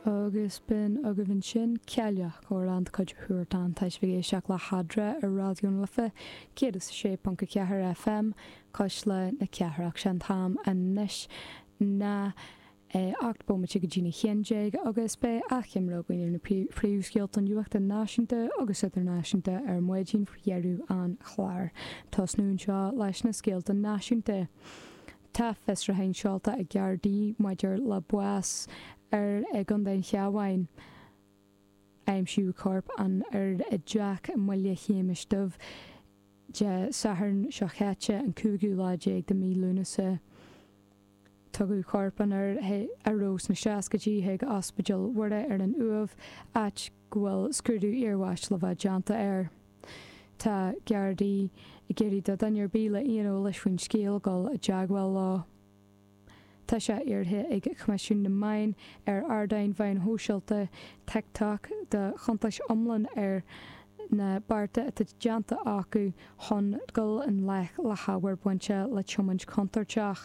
Agus b'in agaibh ansin Cailleach, amhrán de chuid Huartan. Tá sibh ag éisteacht le hEadra ar Raidió na Life 106.4 FM, Cuisle na Cathrach. Sé an t-am anois ná 18 bomaite go dtína 11 agus beidh achoimre againn ar na príomhscéalta nuachta náisiúnta agus idirnáisiúnta ar maidin faoi dheireadh an chláir. Tosnú anseo leis na scéalta náisiúnta. Tá fiosrúchán seolta ag Gardaí maidir le bás fhear i gContae an Chabháin. Aimsíodh corp an fhir i dteach i mBaile Shéamais Duibh Dé Sathairn seo chaite, an cúigiú lá déag de mhí Lúnasa. Tugadh corp an fhir, a raibh sna seascaidí, chuig Ospidéal Mhuire ar an Uaimh, áit go bhfuil scrúdú iarbháis le bheith déanta air. Tá Gardaí ag iarraidh do dhuine ar bith le aon eolais faoin scéal dul i dteagmháil leo. Tá sé iarrtha ag Coimisiún na Meán ar ardáin mheáin shóisialta TikTok do chuntais iomlán ar na bearta atá déanta acu chun dul i ngleic le hábhar bainte le tiomáint chontúirteach.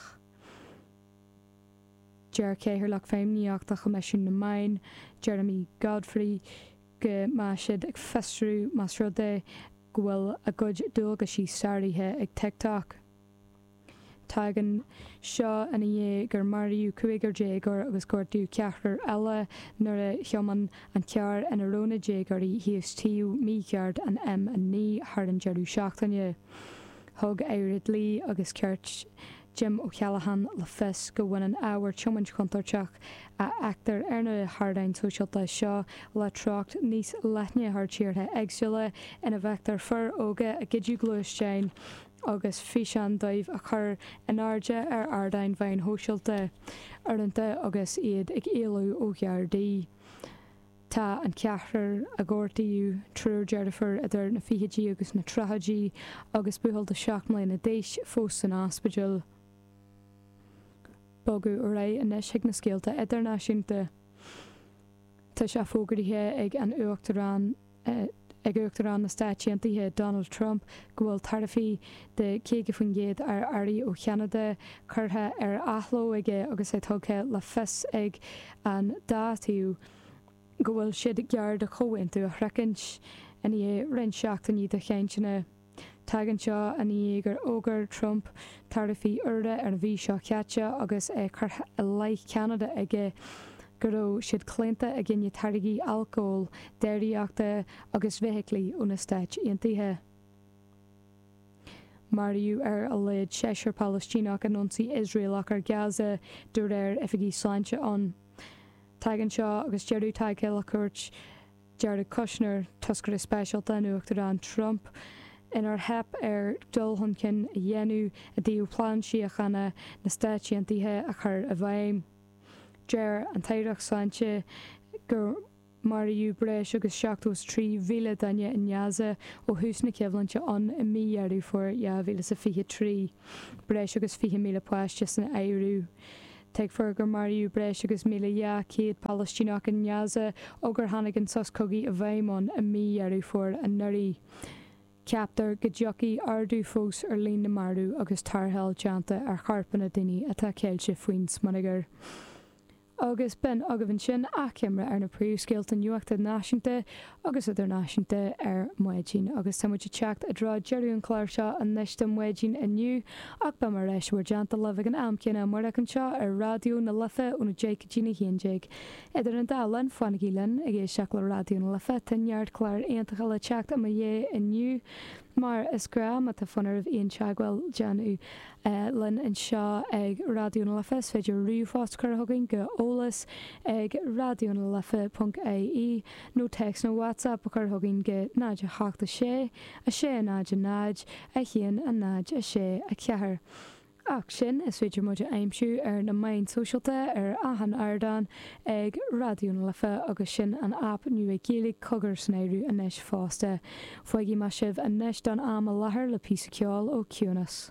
Deir Cathaoirleach Feidhmíochta Choimisiún na Meán, Jeremy Godfrey, go mbeidh siad ag fiosrú más rud é go bhfuil a gcuid dualgaisí sáraithe ag TikTok. Tagann seo ina dhiaidh gur maraíodh cúigear déagóir agus gortaíodh ceathrar eile nuair a thiomáin an carr ina raibh na déagóirí thíos taobh mícheart an M9 thar an deireadh seachtaine. Thug Aire Dlí agus Cirt Jim O'Callaghan le fios go mbaineann ábhar tiomáint chontúirteach a fheictear ar na hardáin shóisialta seo le treocht níos leithne thar tíortha éagsúla ina bhfeictear fir óga ag goideadh gluaisteáin agus físeáin dóibh a chur in airde ar ardáin mheáin shóisialta, uaireanta agus iad ag éalú ó Ghardaí. Tá an ceathrar a gortaíodh, triúr deirfiúr idir na fichidí agus na tríochaidí agus buachaill de 7 mbliana d'aois, fós san ospidéal. Bogadh ar aghaidh anois chuig na scéalta idirnáisiúnta. Tá sé fógraithe ag an Uachtarán ag Uachtarán na Stáit Aontaithe Donald Trump go bhfuil taraifí de 50% ar earraí ó Cheanada curtha ar athló aige agus é tugtha le fios ag an dá thaobh go bhfuil siad gar do chomhaontú a shroichint i ndiaidh roinnt seachtainí de chainteanna. Tagann seo i ndiaidh gur fhógair Trump taraifí úra ar an mhí seo caite agus é curtha i leith Cheanada aige go raibh siad claonta i gcoinne táirgí alcóil, déiríochta agus feithiclí ó na Stáit Aontaithe. Maraíodh ar a laghad seisear Palaistíneach in ionsaí Iosraelach ar Gaza, de réir oifigigh sláinte ann. Tagann seo agus deireadh tagtha le cuairt Jared Kushner, toscaire speisialta an Uachtaráin Trump, inar theip air dul chun cinn a dhéanamh i dtaobh plean síochána na Stáit Aontaithe a chur i bhfeidhm. Deir an tAireacht Sláinte gur maraíodh breis agus 73,000 duine i nGaza ó thús na coimhlinte ann i mí Dheireadh Fómhair 2023, breis agus 20,000 páiste san áireamh. Tuigtear gur maraíodh breis agus 1,200 Palaistíneach i nGaza ó gur tháinig an sos cogaidh i bhfeidhm ann i mí Dheireadh Fómhair anuraidh. Ceaptar go dtiocfaidh ardú fós ar líon na marbh agus tarrtháil déanta ar chorpanna daoine atá ceilte faoin smionagar. Agus b'in agaibh ansin achoimre ar na príomhscéalta nuachta náisiúnta agus idirnáisiúnta ar maidin. Agus tá muid ag teacht i dtreo deireadh an chláir seo anois do maidin inniu ach beidh mé ar ais i bhur dteannta libh ag an am céanna amárach anseo ar Raidió na Life óna 10 go dtína 11. Idir an dá linn, fanaigí linn ag éisteacht le Raidió na Life, tá neart cláir iontacha le teacht i mo dhiaidh inniu. Mar is gnáth, má tá fonn oraibh aon teagmháil déanamh linn anseo ag Raidió na Life, is féidir ríomhphost a chur chugainn go eolas ag raidionalife ponc ie nó téacs nó WhatsApp a chur chugainn go 0 8 6 6 0 0 1 0 6 4. Ach sin, is féidir muid a aimsiú ar na meáin sóisialta ar achan ardán ag Raidió na Life agus sin an aip nua Gaeilge Cogar san áireamh anois fosta. Fágfaidh mé sibh anois don am i láthair le píosa ceoil ó Ciúnas.